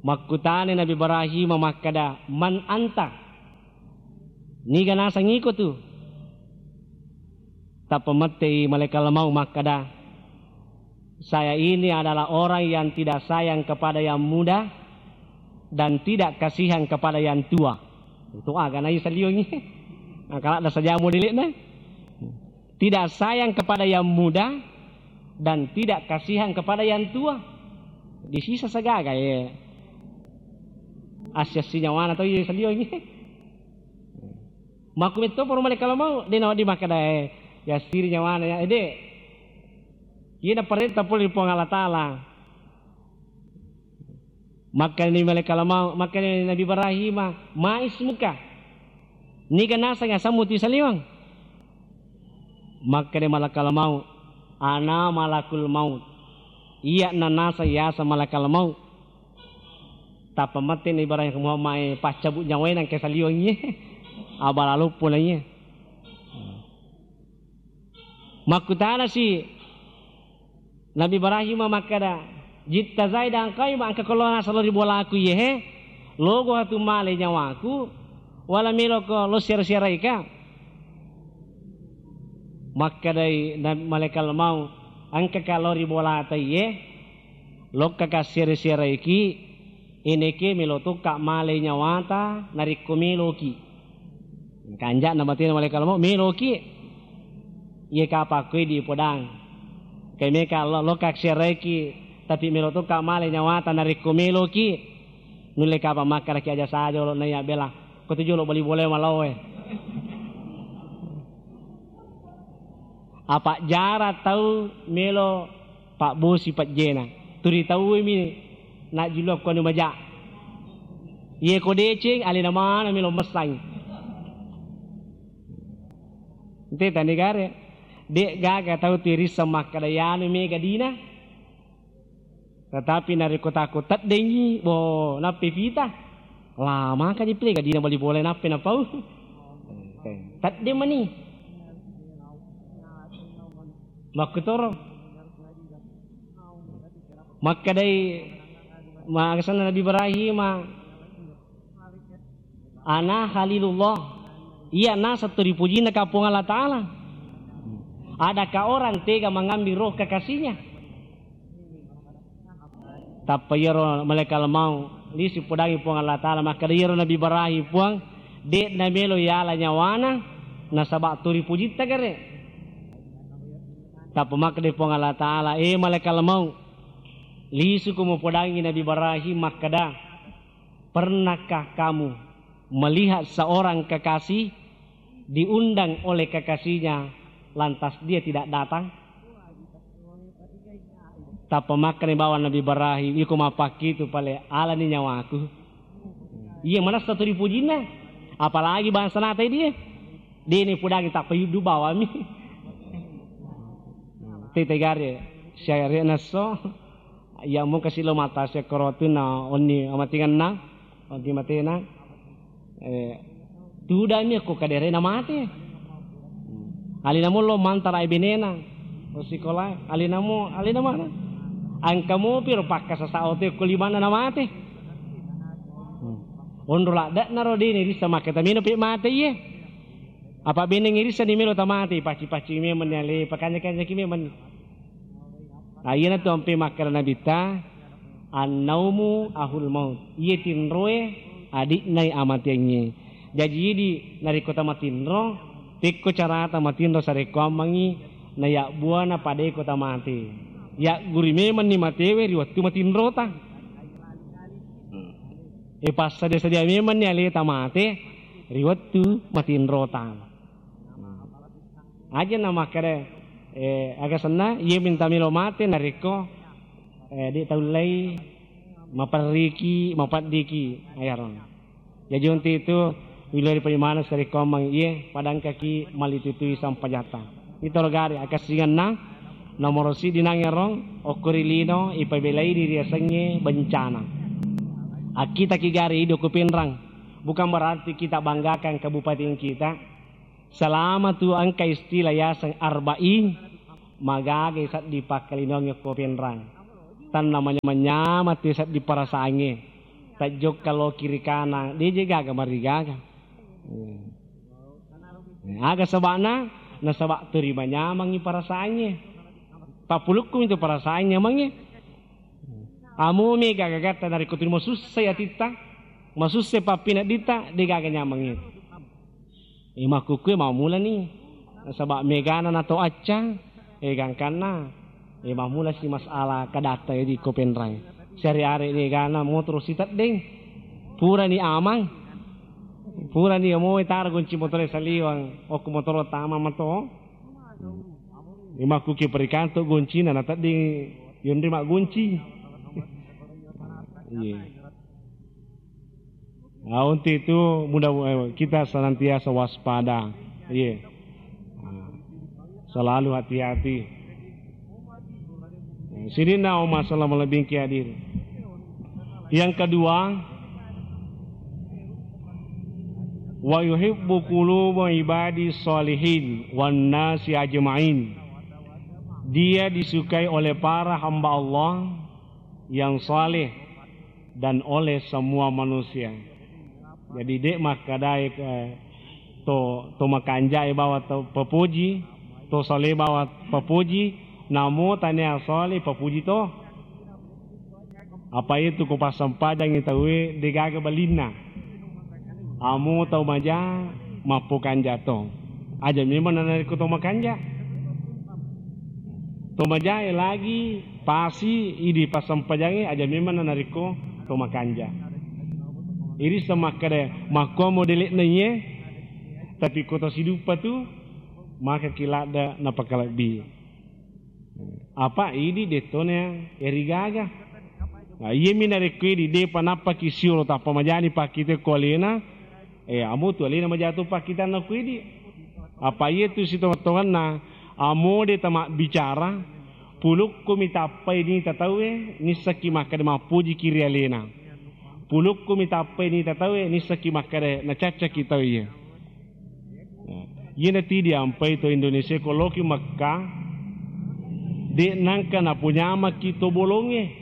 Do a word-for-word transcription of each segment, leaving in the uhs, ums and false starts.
Makkutana Nabi Ibrahim makkada, "Man anta?" Niga naseng iko tu? Tappa mettei malaikat maut makkada, "Saya ini adalah orang yang tidak sayang kepada yang muda dan tidak kasihan kepada yang tua." Itu aga na iya saliongi. Angkala da saja modelekna. Tidak sayang kepada yang muda dan tidak kasihan kepada yang tua. Disisa sagaga ye. Assi-assi nyawana to iya saliongi. Makkumetto poro malaikat maut, de nawedding makkeda, eh, yassiri nyawana ya, eh, de. Iya naparenta pole ri Puang Allah Taala. Makkani malaikat maut, makkani Nabi Ibrahim, "Ma ismuka?" Niga naseng asemmu tu saliweng? Makkani malaikat maut, "Ana malakul maut." Iya na naseng yaseng malaikat maut. Tappa matti na Ibrahim Muhammad e paccabu nyawae nangka saliweng iye. Abala loppo na iye. Makkutanasi Nabi Ibrahim makkada, "Jitta zaidan qaima, engka ko lo naseng lo ri bolaku iye he? Logo hatu male nyawaku, wala meloko lo siara-siaraika?" Makkadai na-, malaikat maut, "Engkaka lo ri bolata iye, lokkaka siara-siaraiki, ineke melo tokka male nyawata narekko meloki." Kanja'na batena malaikat maut, "Meloki." Iye kapang ko idi podang. Kai meka lo-, lokka siaraiki, tapi melo tokka male nyawata narekko meloki. Nulle kapang makkaraki aja saja olo naiya bela. Ko tu jolo bali bolae malaoe. Apa jara tau melo pabbosi pejjena. Turi tauwe mi najjulu ko anu maja. Iye ko deceng alena mana melo messang. Ente tani gare. Dek gaga tau tirisseng makkada yanu mega dina. Tetapi narekko takko teddengngi, bo, nappi pita. Lama kaji pile gadina bali bola nappi napau. Tedde mani. Makkutoro. Makkadai magasana Nabi Ibrahim, "Ana Khalilullah." Iya naseng tu ripujinna ka Puang Allah Ta'ala. Adakah orang tega mengambil roh kekasihnya? Tappa iyaro malaikat maut, lisu podangi Puang Allah Ta'ala, makkada, "Iyaro Nabi Ibrahim, Puang, de'na melo yala nyawana, nasaba tu ripujitta gare." Tappa makkada Puang Allah Ta'ala, "Eh, malaikat maut, lisuko mupodangi Nabi Ibrahim makkada, pernahkah kamu melihat seorang kekasih diundang oleh kekasihnya, lantas dia tidak datang?" Tappa makkani bawang Nabi Ibrahim, "Iko mappakkitu pale, alani nyawaku." Iya manessa tu ripujinna, apalagi bangsa nata dia. Dini pudangi tappa yuddu bawami. Tete gare, syariat nasso. Iya mungka silo mata sekorotu na onni amatingenna, onni matena. Eh, tudami ko kaderena mate. Alina mullo mantara benena. O sikola, alina mo, alina mana? Angka mopi ro pakkasasa ote ko limanna na mate. Onro ladde'na ro dini rissa makketa mino pe mate iye. Apa beneng irissa ni melo tamate, paci-paci memang ni ale, pakanja-kanjaki memang ni. Nah, iyanatu ampe makkeda Nabitta, "Annaumu ahul maut." Iye tinroe adi'nai amateangnge. Jaji idi narekko tamatinro, pekko carata matinro sarekkoammengngi nayabbuana padeko tamate. Yagguri memenni matewe ri wettu matinrota. E passadia-sadia memenni aleta mate ri wettu matinrota. Aja na makkeda, eh, aga senna, iye minta melo mate narekko, eh, de taullei maperriki, mapeddiki, ayaro. Jaji untu itu, wilori parimaneng sarekkoammeng iye, padangkaki malitutui sampajatta. Itoro gare akassingenna, nomoro siddi nangero, okko ri lino, ipabelai ri riasengnge bencana. Akkitaki gare ido ko Pinrang, bukan berarti kita banggakan kabupaten kita, Selama tu engka istilah yaseng arba'in, magagai sedding pakkalinoangnge ko Pinrang. Tanna manyameng-nyameng tu sedding perasaangnge. Tajjokka lo kiri kanang, de' je gaga marigaga. Aga saba'na? Nasaba' terima nyamangngi perasaangnge. Pappulukku itu perasaan nyamangnge. Amo mega gagatta narekko tu masussai atitta, masussai pappineddita, de' gaga nyamangnge. E, makkukkue mammulani. Nasaba' megana nato acca, e, gangkanna, e, mammulasi masalah kadatta, e, di ko penrai. Siare-are megana motoro siteddeng. Purani amang. Purani amo taro gonci motoro saliwang. Okko motoro tama mato. E, makkukkue perikanto goncina nateddeng yonri maggonci. Iya. Nah, untuk itu mudah, eh, kita senantiasa waspada. Iya. Nah, selalu hati-hati. Nah, sininna masalah malebbingki hadir. Yang kedua, wa yuhibbu quluba ibadi sholihin wan nasi ajma'in. Dia disukai oleh para hamba Allah yang saleh dan oleh semua manusia. Jadi, de' makkadae, eh, to, to makanjae bawa to papoji, to sale bawa papoji, namo tania sale papoji to. Apa itu ko passempajangi tauwe de' gaga balinna. Amo tau maja mappokanja to. Aja memang narekko to makanja. To majae lagi pasi idi passempajangnge aja memang narekko to makanja. Iri semakkada makkuamo dele'na iye, tapi ko to siduppa tu maka ki ladda napakalebbi. Apa idi dettona erigaga. Nah, iyemi narekko idi depa nappaki siolo tappa majani pakkite ko alena, eh, amo tu alena maja to pakkitanna ko idi. Apa iye tu sitongettongenna, amo de tamabbicara, pulukku mi tappai nita tauwe, nissakki makkeda mappujiki ri alena. Pulukku mi tappai nita tauwe, nissakki makkeda nacaccaki tau iye. Iyana ti diampai to Indonesia ko loki Mekka, de nangka napunyamaki to bolongnge.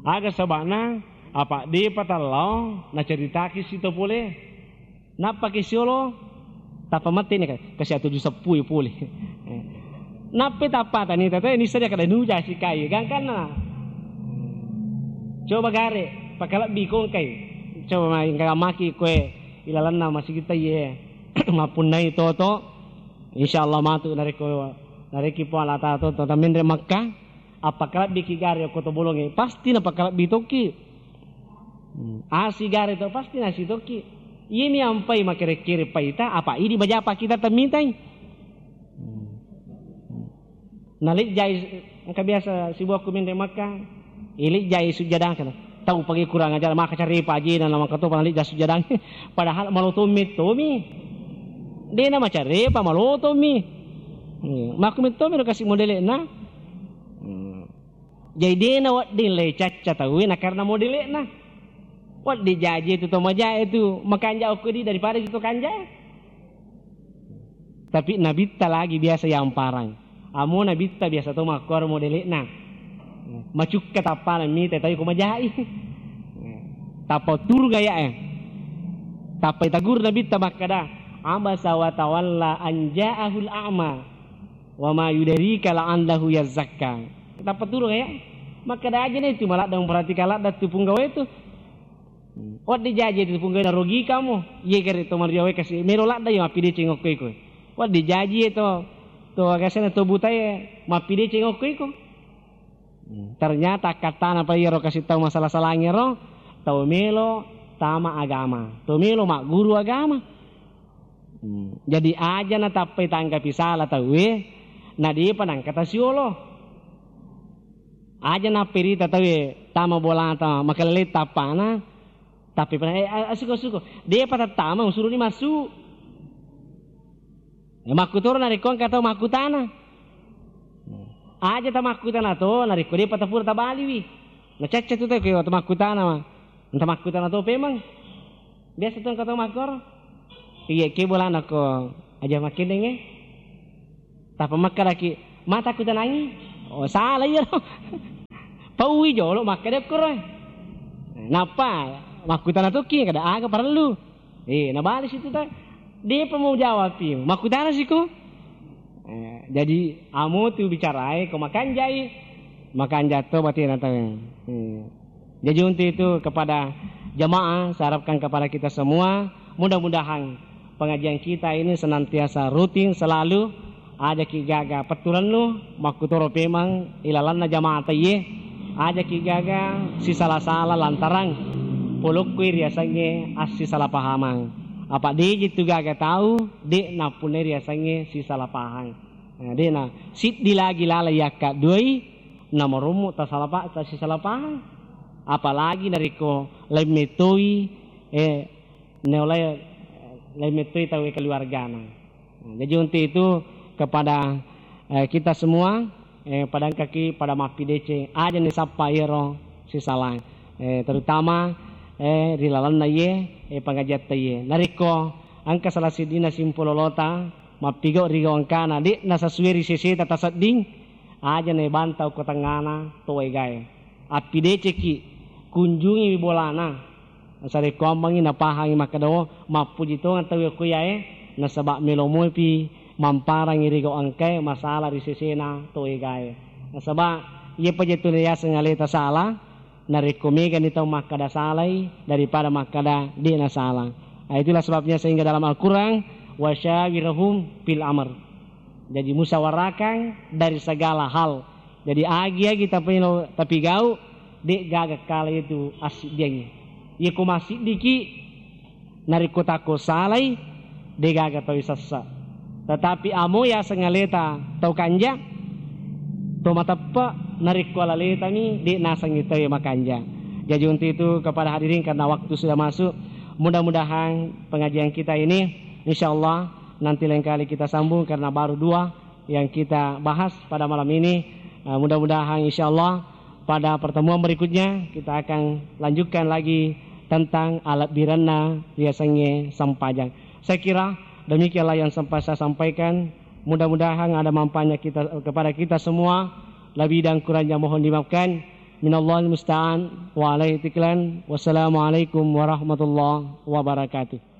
Aga saba'na, apa depa tallao naceritaki sito pole. Nappaki siolo, tappa matti ni kasi atuju seppu'i pole. Nappi tappa tani tete nissa dia kada nuja sikai gangkanna. Coba gare, pakalebbi kongkai. Coba mai engka maki koe ilalenna masigitta iye. Mappunnai toto, insyaallah matu narekko, narekki Puang Allah Taala toto tamenre Makkah, appakalebbiki gare okko to bolongnge, pasti napakalebbi tokki. Hmm. Asi gare to pasti nasi tokki. Iyemi ampai makere-kere paita, apa idi majapa kita temmitai. Hmm. Nalijjai, engka biasa sibuakku menre Makkah, ilijjai sujjadang kana. Tau pagi kurang ajar, maka carepa ajena na maka topa nalijja sujjadang. Padahal maloto mettomi. Dena macarepa, malotomi. Hmm. Makku mettomi ro kasi modele'na. Hmm. Jadi dena wedding le cacca tauwe na karena modele'na. Wedding jaji tu to majae tu makanja okko di daripada tu to kanjae. Tapi nabitta lagi biasa yamparang. Amo nabitta biasa to makkuaro modele'na. Macukka tappana mita tau ko majai. Tappa turung aya'e. Tappa itagur nabitta makkada, "Abasa wa tawalla an ja'ahul a'ma. Wa ma yudarika la'allahu yazzakka." Tappa turung aya'e. Makkada aja na itu maladda memperhatikan ladda tu punggawa itu. Wedding jaji tu punggawa narogi kamu. Iye gare to mario wae kasi melo ladda yo mappideceng okko iko. Wedding jaji to, to agasena to butae mappideceng okko iko. Ternyata akkattana pa iyaro kasi tau masala-salangngero, tau melo tama agama, tau melo magguru agama. Hmm. Jadi aja natappai tanggapi sala tauwe, na depa nangka tasiolo. Aja napperita tauwe tama bolata makalele tappana, tapi pernah, eh, asuko-suko. Depa tattama, usuruni massu. Ya, makkutoro narekko engka tau makkutana. Aja tamakkutana to, narekko depa tapura tabaliwi. Nacacca tu tau ko tamakkutana ma. Tamakkutana to pemeng. Biasa tu engka tau makkoro. Iya, ke bolana ko aja makkendengnge. Tappa makkedaki, "Mata kutanangi." Oh, salah iyaro. Pauwi jolo makkeda koro. Nappa makkutana tokki kada aga parellu. Eh, nabalesi tu ta, depa mau jawab pi. Makkutana siko. Eh, jadi amo tu bicarae ko makanjai, makanja to batena tau. Eh. Jadi untuk itu kepada jamaah, saya harapkan kepada kita semua, mudah-mudahan pengajian kita ini senantiasa rutin selalu, ajaki gaga petturennu, makkutoro pemang ilalanna jamaah taiye, ajaki gaga sisala-sala lantarang polokkoi riasengnge assisalapahamang. Apa deji tu gaga tau, de nappunnai riasengnge sisalapahang. Nah, de na siddi lagi laleng yakka duai, namarommo tasalapa-, tasisalapahang. Apalagi narekko laing mettoi, eh, naulai, laing mettoi tau keluargana. Nah, jadi untuk itu kepada, eh, kita semua, eh, pada engkaki pada mappideceng, aja ni sappa iyaro sisala. Eh, terutama, eh, ri lalenna iye, eh, pengajiatta iye. Narekko engka salah siddina simpulolota, mappigau ri gau engkana, de na sesuai ri seseta tasedding, aja na bantau ko tengngana to egae. Appideceki, kunjungiwi bolana. Sarekkoammengngi napahangi makkeda, "Oh, mappuji tongeng tau okko iyae, nasaba melo mopi mamparangi ri gau engkae masalah ri sesena to egae." Nasaba iye paja tu riaseng aleta sala, narekko megani tau makkeda salai daripada makkeda de na sala. Nah, itulah sebabnya sehingga dalam Al-Quran, "Wasyawirhum fil amr." Jadi musyawarakang dari segala hal. Jadi agi-agi tapeno tapigau, de gaga kala itu assiddiangnge. Iya ko massiddiki, narekko takko salai, de gaga tau sessa. Tetapi amo yaseng aleta tau kanja, to mateppe, narekko alaletami, de nasengngi tau makanja. Jadi untuk itu kepada hadirin, karena waktu sudah masuk, mudah-mudahan pengajian kita ini, insya Allah, nanti lain kali kita sambung karena baru dua yang kita bahas pada malam ini. Eh, mudah-mudahan insya Allah pada pertemuan berikutnya kita akan lanjutkan lagi tentang alebbirenna riasengnge sempajang. Saya kira demikianlah yang sempat saya sampaikan. Mudah-mudahan ada manfaatnya kita, kepada kita semua. Lebih dan kurangnya mohon dimaafkan. Minallahil musta'an wa alaihi tiklan. Wassalamualaikum warahmatullahi wabarakatuh.